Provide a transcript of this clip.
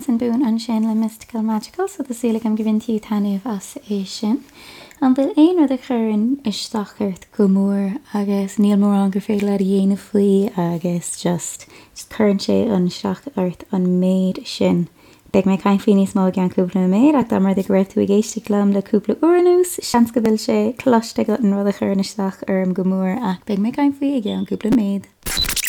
Benson Boone ansin le Mystical Magical, so tá súil agam gur bhain tú taitneamh as é sin. An bhfuil aon rud a chuireann isteach ort go mór agus níl mórán gur féidir leat a dhéanamh faoi agus just just cuireann sé isteach ort an méid sin? Beidh mé ag caint faoi níos mó i gceann cúpla nóiméad ach dá mba rud é go raibh tú ag éisteacht liom le cúpla uair anuas, seans go bhfuil sé cloiste agat an rud a chuireann isteach orm go mór ach beidh mé ag caint faoi i gceann cúpla nóiméad.